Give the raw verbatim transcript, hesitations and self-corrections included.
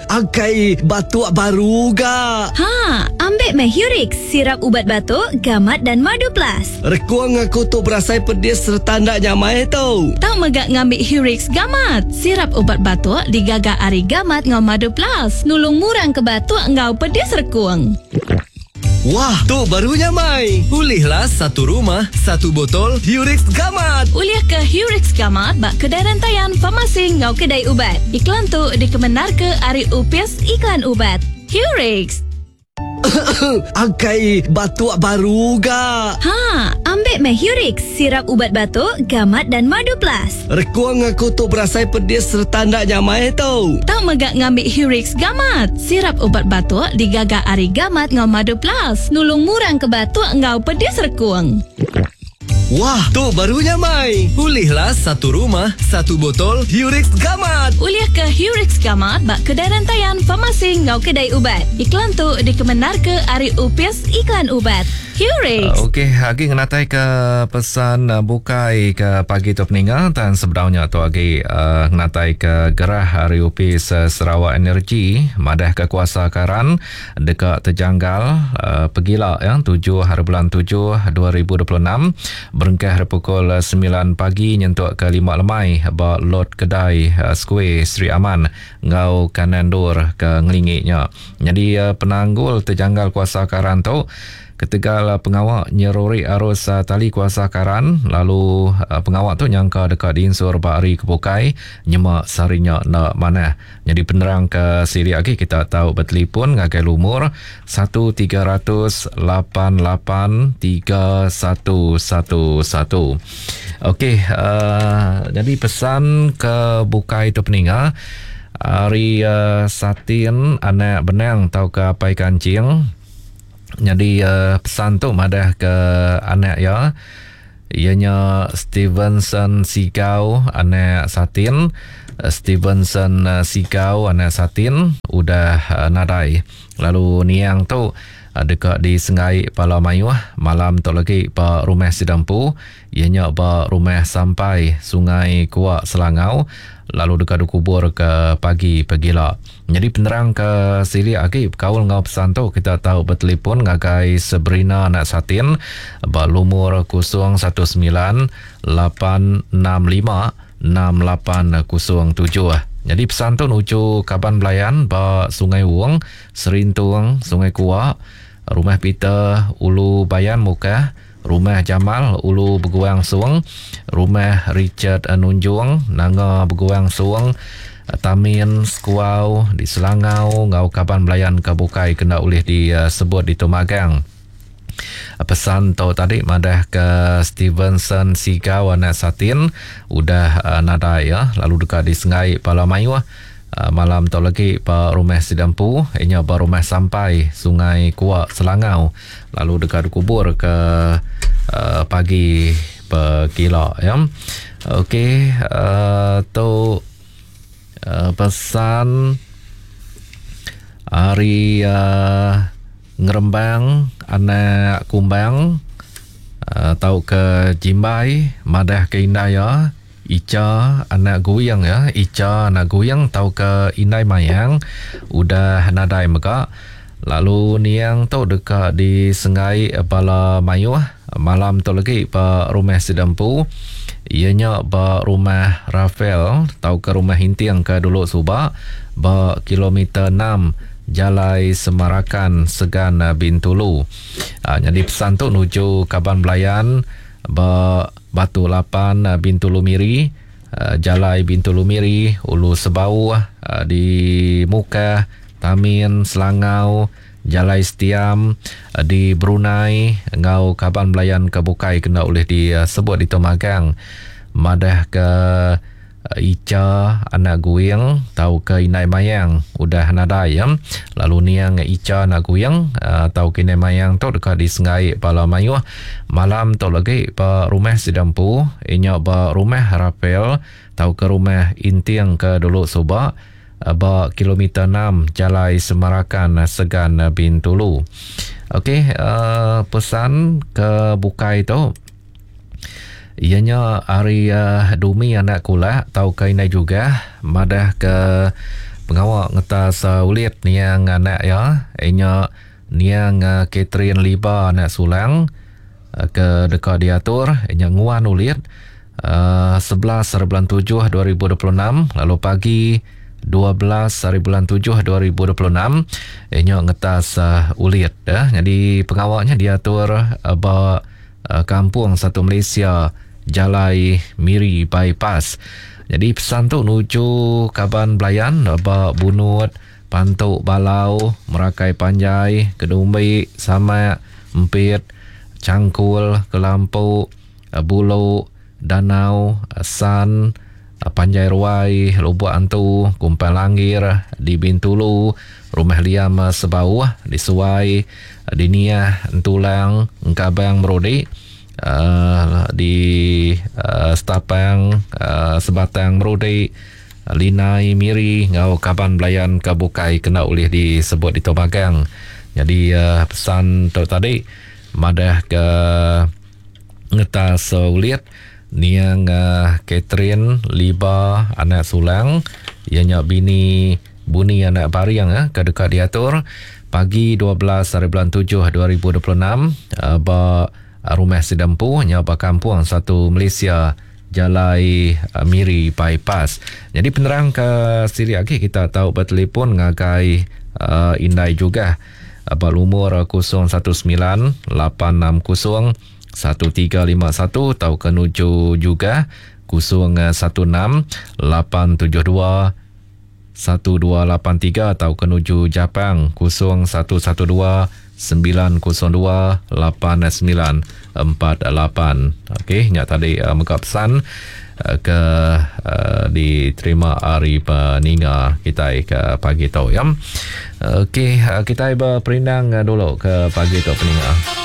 Akai batuk baru ga. Ha, ambil meh Hurix, sirap ubat batuk, gamat dan madu plus. Rekuang aku tu berasai pedis serta ndak nyamai tu. Tau mega ngambil Hurix gamat. Sirap ubat batuk digaga ari gamat ngau madu plus. Nulung murang ke batuk ngau pedis rekuang. Wah, tu baru nyamai. Ulihlah satu rumah, satu botol Hurix Gamat. Ulih ke Hurix Gamat bak kedai rantaian farmasi ngau kedai ubat. Iklan tu dikemenar ke ari Upis Iklan Ubat. Hurix. Akai batuk baru ga. Ha, ambil meh Hurix, sirap ubat batuk, gamat dan madu plus. Rekuang aku tu berasai pedis serta ndak nyamai tu. Tau mega ngambil Hurix Gamat. Sirap ubat batuk digaga ari gamat ngau madu plus. Nulung murang ke batuk ngau pedis rekuang. Wah, tu baru nyamai. Ulihlah satu rumah, satu botol Hurix Gamat. Ulih ke Hurix Gamat bak kedai rantaian farmasi ngau kedai ubat. Iklan tu dikemenar ke ari Upis Iklan Ubat. Hurix. Uh, Okey, agi ngenatai ke pesan uh, bukai ke pagi tu peninga dan sebenarnya tu agi uh, ngenatai ke gerah hari Upis uh, Sarawak Energy madah ke kuasa karan dekat terjanggal uh, pegila ya tujuh hari bulan tujuh dua ribu dua puluh enam berengkah pukul sembilan pagi nyentuk ke lima lemai ba lot kedai uh, Square Sri Aman ngau kanan dur ke ngelingiknya. Jadi uh, penanggul terjanggal kuasa karan tu ketegal pengawak nyeruri arus uh, tali kuasa karan lalu uh, pengawak tu nyangka dekat diinsur ba hari kebukai nyemak sarinya nak manah. Jadi penerang ke siri lagi kita tahu bertelefon ngagai lumur satu tiga ratus lapan lapan tiga satu satu satu. Okey, uh, jadi pesan ke bukai tu peninga hari uh, Satin anak benang tau ke apai kancing. Jadi uh, pesan tu madah ke anak ya, ianya Stevenson Sigau anak Satin. Stevenson Sigau anak Satin udah uh, nadai. Lalu niang tu uh, dekat di Sengai Pala Mayuh malam tu lagi ba rumah Sidampu, ianya ba rumah sampai Sungai Kuak Selangau, lalu dekat dikubur ke pagi pegila. Jadi penerang ke siri agi kaul ngau pesan tu kita tahu bertelefon ngagai Sabrina anak Satin ba lumur kosong satu sembilan lapan enam lima enam lapan kosong tujuh. Jadi pesan tu nuju kaban belayan ba Sungai Wong, Serintung, Sungai Kuak, Rumah Peter, Ulu Bayan Mukah, Rumah Jamal, Ulu Beguang Suang, Rumah Richard Nunjung, Nanga Beguang Suang, Tamin, Sekuau, di Selangau, ngau kaban belayan ke bukai kena ulih disebut di Tumagang. Pesan tu tadi madah ke Stevenson Sigau anak Satin udah uh, nadai ya, lalu dekat di Sengai Pala Mayuh uh, malam tu lagi ba rumah Sidampu, inya ba rumah sampai Sungai Kuak Selangau, lalu dekat dikubur ke uh, pagi pegila ya. Okey, uh, tu uh, pesan hari uh, Ngerembang anak Kumbang uh, tau ke Jimbai madah ke Indai ya, Ica anak Guyang ya, Ica anak Guyang tau ke Indai Mayang udah nadai mega. Lalu niang tu dekat di Sengai Bala Mayuh malam tu lagi ba rumah Sidampu, ianya ba rumah Rafael tau ke rumah Hinting ke dulu subak ba kilometer enam Jalai Semarakan Segan Bintulu. Ha, jadi pesan tu nuju kaban belayan ba Batu Lapan Bintulu Miri, Jalai Bintulu Miri, Ulu Sebau di Mukah, Tamin, Selangau, Jalai Setiam di Brunei ngau kaban belayan ke bukai kena oleh disebut di Tumagang. Madah ke Ica anak Guing tau ke Inai Mayang udah nadai ya. Lalu niang Ica anak Guing uh, tau ke Inai Mayang tu dekat di Sengai Pala Mayuh malam tu lagi ba rumah Sidampu, inya ba rumah Rafael tau ke rumah Inting ke dulu subak ba kilometer enam Jalai Semarakan Segan Bintulu. Okey, uh, pesan ke bukai tu ianya hari uh, Dumi anak kulak tau ke Inai juga madah ke Pengawak ngetas uh, ulit niang anak ya inya niang uh, Catherine Liba anak Sulang uh, ke dekat diatur inya nguan ulit uh, sebelas hari bulan tujuh dua ribu dua puluh enam lalu pagi dua belas hari bulan tujuh dua ribu dua puluh enam inya ngetas uh, ulit ya. Jadi pengawaknya diatur uh, ba uh, kampung Satu Malaysia Jalai Miri Bypass. Jadi pesan tu nuju kaban belayan ba Bunut, Pantuk Balau, Merakai Panjai, Kedumbi, Samak, Empit, Cangkul, Kelampu, Bulu, Danau, San, Panjai Ruai, Lubuk Antu, Kumpang Langgir, di Bintulu, Rumah Liam Sebauh, di Suai, di Niah, Entulang, Engkabang Merodik, Uh, di uh, Setapang, uh, Sebatang Merodik, Linai Miri ngau kaban belayan ke bukai kena ulih disebut di Tomagang. Jadi uh, pesan tu tadi madah ke ngetas uh, ulit niang uh, Catherine Liba anak Sulang ianya bini Buni anak Bariang eh, ke dekat diatur pagi dua belas hari bulan tujuh dua ribu dua puluh enam uh, ba Rumah Sidempu nya ba kampung Satu Malaysia Jalai Miri Bypass. Jadi penerang ke siri lagi kita tahu bertelefon ngagai uh, Indai juga ba lumur kosong satu sembilan lapan enam kosong satu tiga lima satu atau ke nuju juga kosong satu enam lapan tujuh dua satu dua lapan tiga atau ke nuju Japang kosong satu satu dua sembilan kosong dua lapan sembilan empat lapan. Okey, nyak tadi uh, mega pesan uh, ke uh, diterima hari peninga kita ke pagi tu ya. Okey, uh, kita berperindang dulu ke pagi tu peninga.